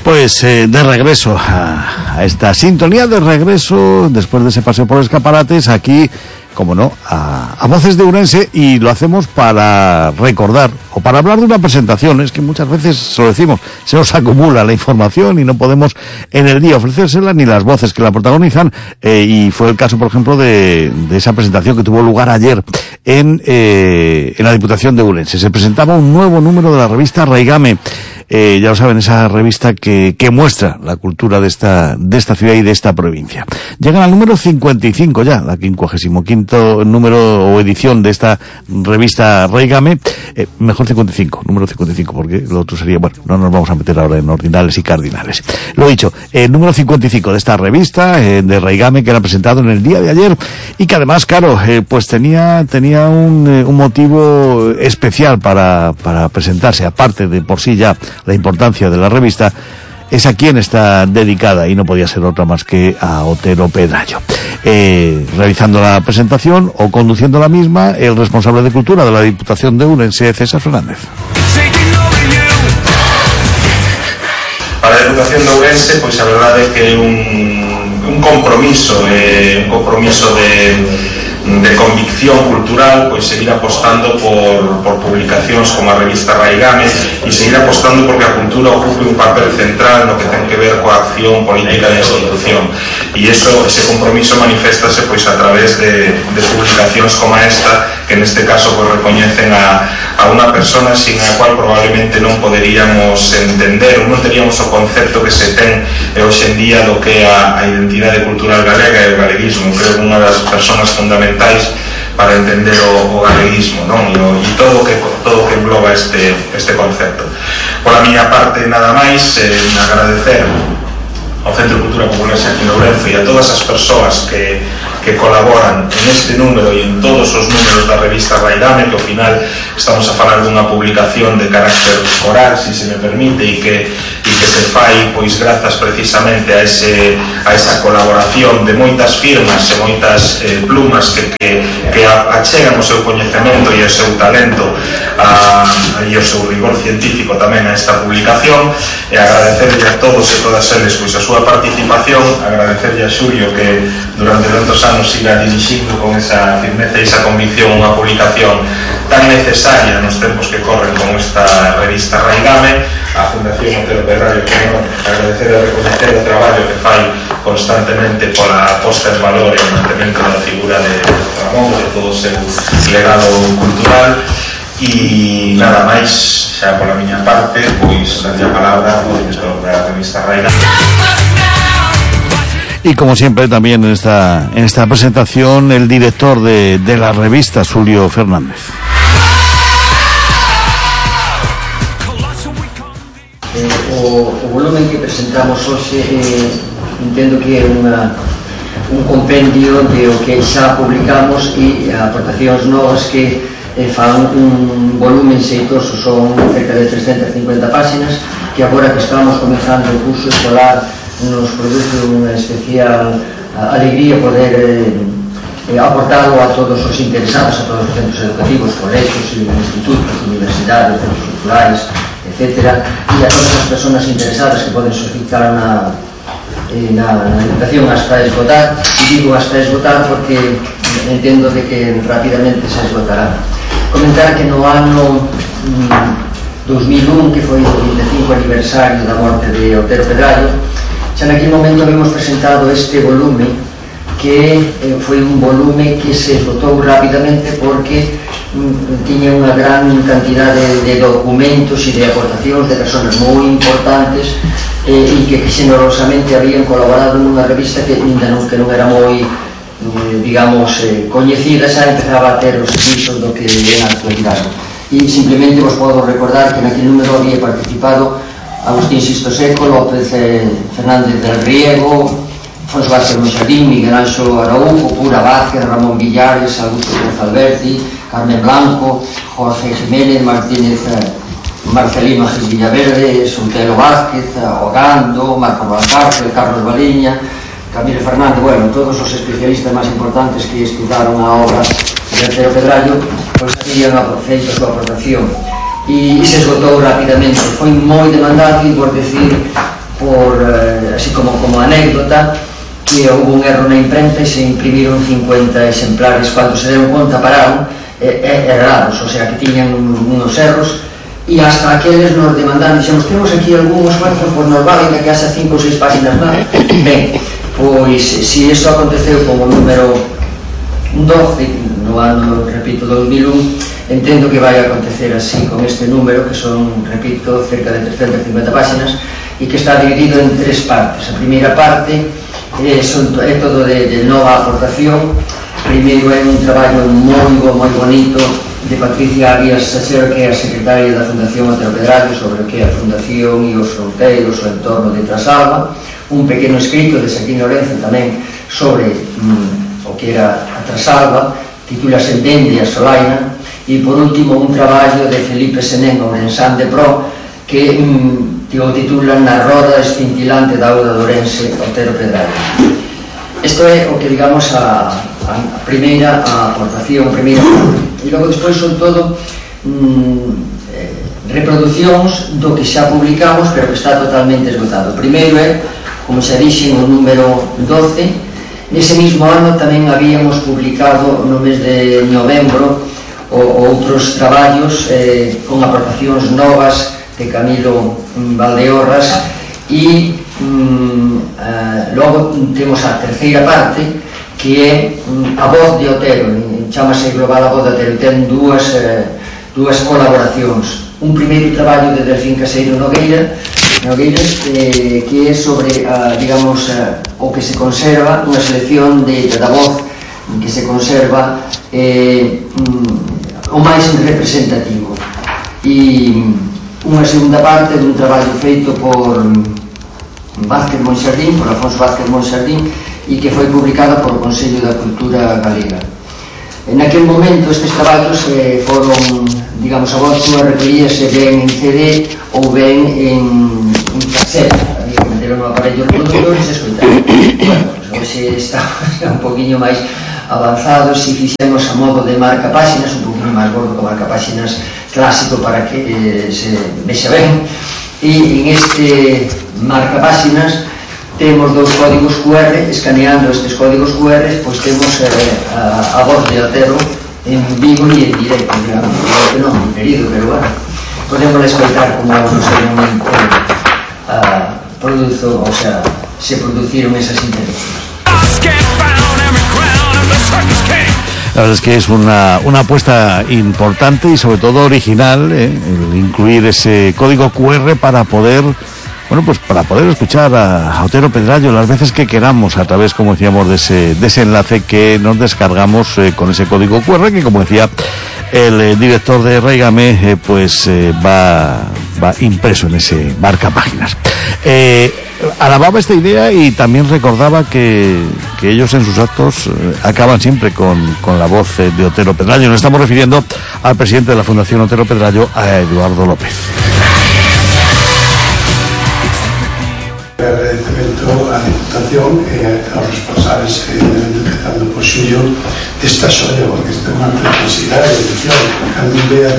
Pues de regreso a esta sintonía, de regreso después de ese paseo por escaparates, aquí, como no, a Voces de Ourense, y lo hacemos para recordar o para hablar de una presentación. Es que muchas veces, se lo decimos, se nos acumula la información y no podemos en el día ofrecérsela ni las voces que la protagonizan, y fue el caso, por ejemplo, de esa presentación que tuvo lugar ayer en la Diputación de Ourense. Se presentaba un nuevo número de la revista Raigame. Ya lo saben, esa revista que muestra la cultura de esta ciudad y de esta provincia. Llegan al número 55 ya, la 55º número o edición de esta revista Raigame. Mejor 55, número 55, porque lo otro sería, bueno, no nos vamos a meter ahora en ordinales y cardinales. Lo dicho, número 55 de esta revista de Raigame, que era presentado en el día de ayer, y que además, claro, pues tenía un motivo especial para presentarse, aparte de por sí ya la importancia de la revista. Es a quien está dedicada, y no podía ser otra más que a Otero Pedrayo. Realizando la presentación o conduciendo la misma, el responsable de cultura de la Diputación de Ourense, César Fernández. Para a Diputación de Ourense, pois a verdade é que un compromiso de convicción cultural, pois seguir apostando por publicacións como a revista Raigame, e seguir apostando porque a cultura ocupe un papel central no que ten que ver coa acción política da institución, e ese compromiso maniféstase pois a través de publicacións como esta, que neste caso pois recoñecen a unha persona sin a cual probablemente non poderíamos entender, non teríamos o concepto que se ten hoxe en día do que é a identidade cultural galega e o galeguismo. Creo que unha das personas fundamentais para entender o galeguismo, non? E todo o que engloba este concepto. Por a miña parte, nada máis, agradecer ao Centro de Cultura Popular aquí en Ourense e a todas as persoas que colaboran en este número e en todos os números da revista Raigame, que ao final estamos a falar dunha publicación de carácter coral, si se me permite, e que se fai pois grazas precisamente a esa colaboración de moitas firmas e moitas plumas que achegan o seu coñecemento e o seu talento e o seu rigor científico tamén a esta publicación, e agradecerle a todos e todas eles pois a súa participación, agradecerle a Xulio que durante tantos anos siga dirixindo con esa firmeza e esa convicción unha publicación tan necesaria nos tempos que corren con esta revista Raigame, a Fundación Otero Pedrayo, que agradecer e reconocer o traballo que fai constantemente pola posta en valor e o mantemento da figura de Ramón, de todo o seu legado cultural. E nada máis, xa pola miña parte, pois darlle a palabra ao director da revista Raigame. Y como siempre también en esta presentación el director de la revista, Xulio Fernández. O volumen que presentamos hoxe entendo que é un compendio de o que xa publicamos e aportacións novas que fan un volumen xeitoso. Son cerca de 350 páxinas que agora que estamos comenzando o curso escolar nos produce unha especial alegría poder aportarlo a todos os interesados, a todos os centros educativos, colegios, institutos, universidades, centros culturales, etc. E a todas as persoas interesadas que poden solicitar na educación hasta esgotar. E digo hasta esgotar porque entendo de que rapidamente se esgotará. Comentar que no ano 2001, que foi o 25 aniversario da morte de Otero Pedrayo, xa naquele momento habíamos presentado este volume, que foi un volume que se esgotou rapidamente porque tiña unha gran cantidade de documentos e de aportacións de persoas moi importantes e que xenerosamente habían colaborado nunha revista que non era moi, digamos, coñecida, xa empezaba a ter os servizos do que é na actualidade. E simplemente vos podo recordar que naquele número había participado Agustín Sisto Seco, López Fernández del Riego, Fonso Vázquez Monxardín, Miguel Anxo Araújo, Pura Vázquez, Ramón Villares, Augusto Pérez Alberti, Carmen Blanco, Jorge Jiménez, Marcelino Gil Villaverde, Sotelo Vázquez, Ogando, Marco Valcárcel, Carlos Baliña, Camilo Fernández, bueno, todos os especialistas máis importantes que estudaron a obra de Otero Pedrayo, pois habían feito a súa aportación. E se esgotou rapidamente, foi moi demandado, e por decir así como anécdota, que houve un erro na imprenta e se imprimiron 50 exemplares. Cando se deron conta pararon errados, o sea que tiñan unos erros, e hasta aqueles nos demandaron, dixemos, temos aquí algún esforzo, pois nos vale que haxa 5 ou 6 páginas máis. Ben, pois se iso aconteceu como número 12 no ano, repito, 2001, entendo que vai acontecer así con este número, que son, repito, cerca de 350 páginas, e que está dividido en 3 partes. A primeira parte é todo de nova aportación. Primeiro é un traballo moi bonito de Patricia Arias Sacher, que é a secretaria da Fundación Otero Pedrallo, sobre o que é a Fundación e os fronteiros, o entorno de Trasalba. Un pequeno escrito de Saquín Lorenzo tamén sobre o que era a Trasalba, titúlase Dende a Solaina. E por último un traballo de Felipe Senén, Ourensán de Pro, que o titulan Na roda escintilante da auga de Ourense, Otero Pedrallo. Isto é o que, digamos, a primeira aportación, primeira parte. E logo despois son todo reproduccións do que xa publicamos, pero que está totalmente esgotado. O primeiro é, como xa dixen, o número 12. Nese mismo ano tamén habíamos publicado no mes de novembro outros traballos con aportacións novas de Camilo Valdeorras, e logo temos a terceira parte, que é a voz de Otero, chamase Global a voz de Otero, ten dúas colaboracións. Un primeiro traballo de Delfín Caseiro Nogueiras, que é sobre, digamos, o que se conserva, unha selección da voz que se conserva o máis representativo. E unha segunda parte dun traballo feito por Vázquez Monxardín, por Afonso Vázquez Monxardín, e que foi publicada por o Consello da Cultura Galega. En aquel momento estes traballos foron, digamos, a voz súa recollíase ben en CD ou ben en cassette, había que meter no aparello reproductor e se escoitar. Bueno, hoxe está un poquinho máis avanzado, se fixemos a modo de marca páxinas, un poquinho máis gordo que marca páxinas clásico para que se vexa ben. E en este marca páxinas temos dous códigos QR. Escaneando estes códigos QR, pois temos a voz de Otero en vivo e en directo, digamos, que non, querido, pero bueno, podemos escoitar como no seu momento produzo, o sea, se produciron esas intervenciones. La verdad es que es una apuesta importante y sobre todo original, el incluir ese código QR para poder, bueno, pues para poder escuchar a Otero Pedrallo las veces que queramos, a través, como decíamos, de ese enlace que nos descargamos con ese código QR, que, como decía el director de Raigame, pues va impreso en ese marca páginas. Alababa esta idea y también recordaba que ellos en sus actos acaban siempre con la voz de Otero Pedrallo. Nos estamos refiriendo al presidente de la Fundación Otero Pedrallo, a Eduardo López. Agradecemento á Diputación e aos responsables, empezando por Xulio, desta xoia, porque isto é unha preciosidade, cando vea